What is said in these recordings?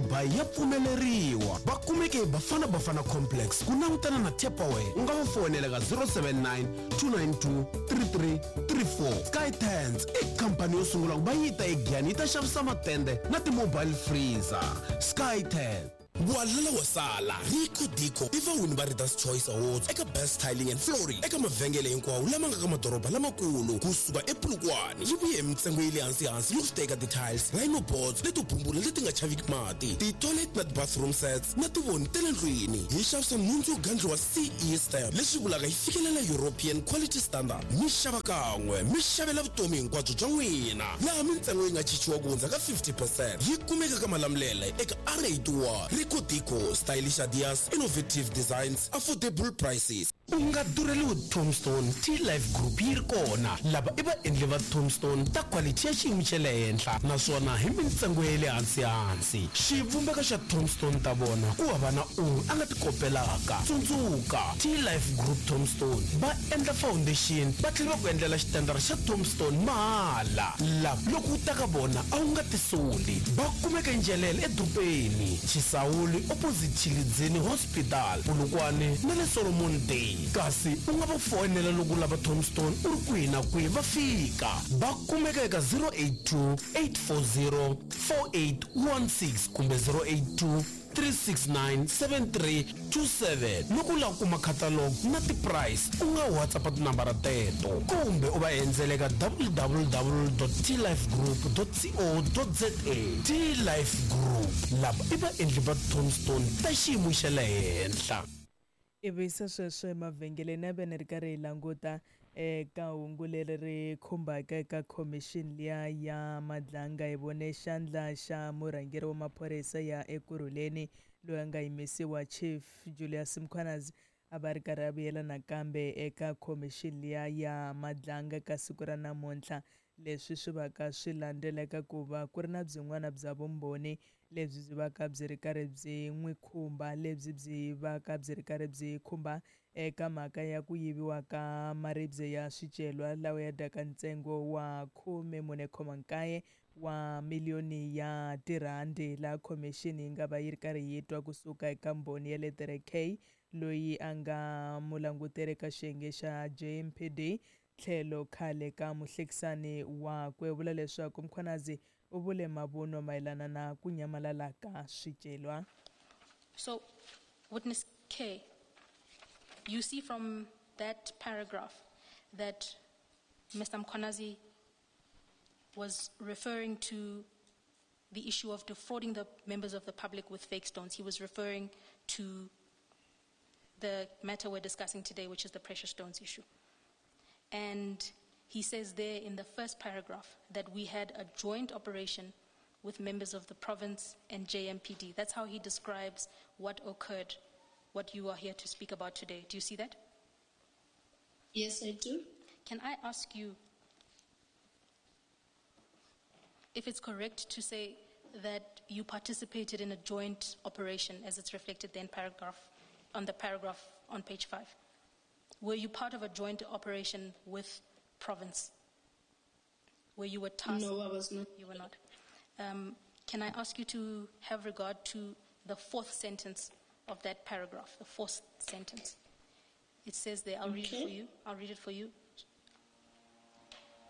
By ya pfumeleriwa. Va kumeke eBafana Bafana Complex ku langutana na Tupperware. U nga va foyinela ka 079 292 3334. Sky Tents i khampani yo sungula ku va yi ta eGiyani yi ta xavisa matende na ti-mobile freezer. Sky Tents. Walala wa sala, Rico Dico i vawini va Reader's Choice Awards eka Best Tiling and Flooring eka mavhengele hinkwawo lama nga ka madoroba lamakulu kusuka ePolokwane. Yi vuye hi mintsengo ya le hansi-hansi loko swi ta eka ti-tiles, rhino boards leto bumbula leti nga chaviki mati, ti-toilet na ti-bathroom sets na tivoni ta le ndlwini. Hi xavisa nhundzu yo gandliwa CE stamp, leswi vulaka yi fikelela European Quality Standard. Mi xava kan'we, mi xavela vutomi hinkwabyo bya n'wina, laha mintsengo yi nga chichiwa ku hundza ka 50 percent. Yi kumeka ka Malamulele eka R81. Rico Dico, Stylish Ideas, Innovative Designs, Affordable Prices. U nga durheliwi Tombstone, T-Life Group yi ri kona. Lava i vaendli va Tombstone ta quality ya xiyimo xa le henhla naswona hi mintsengo ya le hansi-hansi. Xivumbeko xa Tombstone ta vona ku hava na un'we a nga ti kopelaka. Tsundzuka, T-Life Group Tombstone va endla foundation va tlhela va ku endlela xitandara xa Tombstone mahala. Lava loko u ta ka vona a wu nga tisoli. Va kumeka eNjelele edorobeni, Chisawuli opposite Tshilidzini Hospital, Polokwane na le Solomon Day. Kasi u nga va foyinela loko u lava Tombstone u ri kwihi na kwihi va fika. Va kumeka eka 082 840 4816 kumbe 082 369 7327. Loko u lava ku kuma catalog na ti-price u nga WhatsApp tinambara teto kumbe u va endzela eka www.tlifegroup.co.za. T-Life Group, lava i vaendli va tombstone ta xiyimo xa le henhla. Ivi se sweswo emavhengeleni a ve ni ri karhi hi languta eka hungu leri ri khumbaka eka khomixini liya ya Madlanga. Hi vone xandla xa murhangeri wa maphorisa ya Ekurhuleni loyi a nga yimisiwa Chief Julius Mkhwanazi a va ri karhi a vuyela nakambe eka khomixini liya ya Madlanga ka siku ra namuntlha. Leswi swi vaka swi landzela eka ku va ku ri na byin'wana bya vumbhoni lebyi byi vaka byi ri karhi byi n'wi khumba, lebyi byi vaka byi ri karhi byi khumba eka mhaka ya ku yiviwa ka maribye ya swicelwa lawa ya dyaka ntsengo wa 14.9 wa miliyoni ya tirhandi, laha khomixini yi nga va yi ri karhi yi twa kusuka eka mbhoni ya letere K loyi a nga mulanguteri eka xiyenge xa JMPD tlhelo khale ka muhlekisani wakwe. U vula leswaku Mkhwanazi u vule mavunwa mayelana na ku nyamalala ka swicelwa. So, witness K, you see from that paragraph that Mr. Mkhwanazi was referring to the issue of defrauding the members of the public with fake stones. He was referring to the matter we're discussing today, which is the precious stones issue. And he says there in the first paragraph that we had a joint operation with members of the province and JMPD. That's how he describes what occurred, what you are here to speak about today. Do you see that? Yes, I do. Can I ask you if it's correct to say that you participated in a joint operation, as it's reflected there in paragraph, on the paragraph on page 5? Were you part of a joint operation with province? Where you were tasked? No, I was not. You were not. Can I ask you to have regard to the fourth sentence of that paragraph, the fourth sentence? It says there, I'll read it for you. I'll read it for you.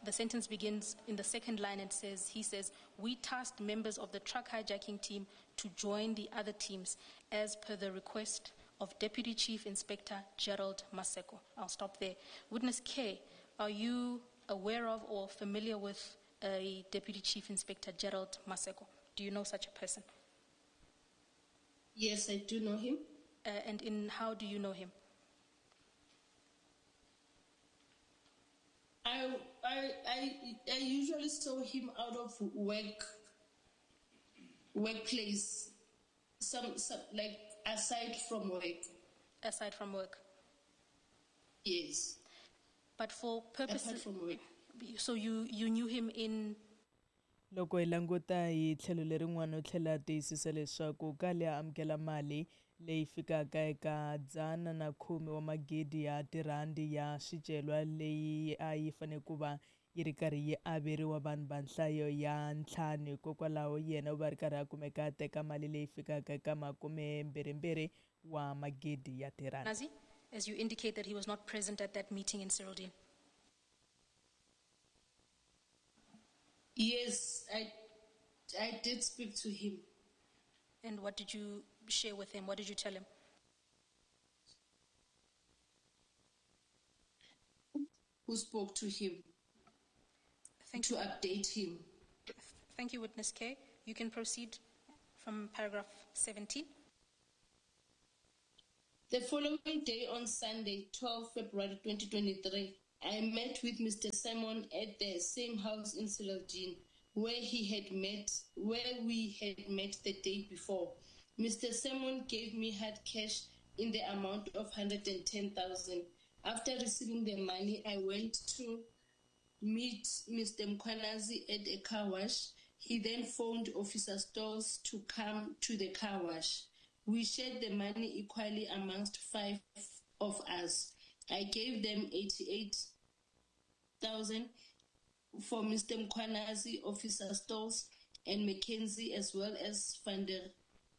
The sentence begins in the second line and says, he says, we tasked members of the truck hijacking team to join the other teams as per the request of Deputy Chief Inspector Gerald Maseko. I'll stop there. Witness K, are you aware of or familiar with a Deputy Chief Inspector Gerald Maseko? Do you know such a person? Yes, I do know him. And in how do you know him? I usually saw him out of workplace, some like aside from work. Aside from work. Yes. But for purposes. Apart from work. So you knew him in. Loko hi languta hi tlhelo lerin'wana u tlhela a tiyisisa leswaku kale a amukela mali leyi fikaka eka dzana na khume wa magidi ya tirhandi ya swicelwa leyi a yi fanele ku va yi ri karhi yi averiwa vanhu va nhlayo ya 5. Hikokwalaho yena u va ri karhi a kumeka a teka mali leyi fikaka eka 22 wa magidi ya tirhandi. Nazi, as you indicate that he was not present at that meeting in Cyrildene. Yes, I did speak to him. And what did you share with him? What did you tell him? Who spoke to him? Thank to you. Update him. Thank you, Witness K. You can proceed from paragraph 17. The following day on Sunday, 12 February 2023, I met with Mr. Simon at the same house in Cyrildene, where we had met the day before. Mr. Simon gave me hard cash in the amount of 110,000. After receiving the money, I went to meet Mr. Mkhwanazi at a car wash. He then phoned Officer Stolz to come to the car wash. We shared the money equally amongst 5 of us. I gave them 88,000 for Mr. Mkhwanazi, Officer Stolz, and Mackenzie, as well as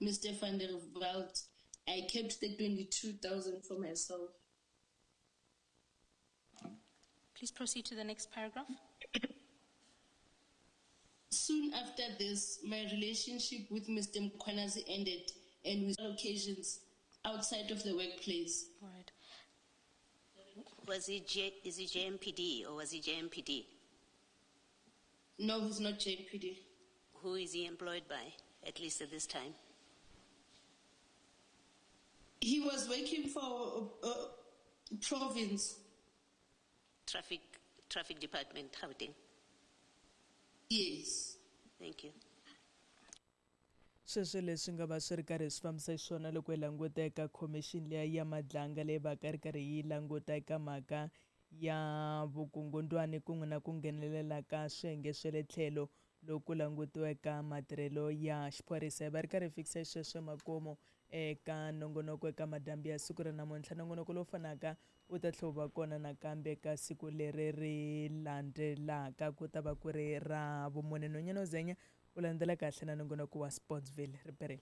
Mr. Van der Walt. I kept the 22,000 for myself. Please proceed to the next paragraph. Soon after this, my relationship with Mr. Mkhwanazi ended, and with occasions outside of the workplace. All right. Was he is he JMPD or was he JMPD? No, he's not JMPD. Who is he employed by, at least at this time? He was working for province. Traffic Department, Gauteng. Yes. Thank you. Sweswo leswi nga va swi ri karhi swi fambisa xiswona loko hi languta eka khomixini liya ya Madlanga leyi va ka ri karhi yi languta eka mhaka ya vukungundwani kun'we na ku nghenelela ka swiyenge swa le tlhelo loko langutiwa eka matirhelo ya xiphorisa. Hi va ri karhi hi fikisa xisweswo makumu eka nongonoko eka madyambu ya siku ra namuntlha. Nongonoko lowu fanaka wu ta tlhela wu va kona nakambe ka siku leri ri landzelaka, ku ta va ku ri ra vumune. Nonyana Zenya u landzela kahle na nongonoko wa Sportsville. Riperile.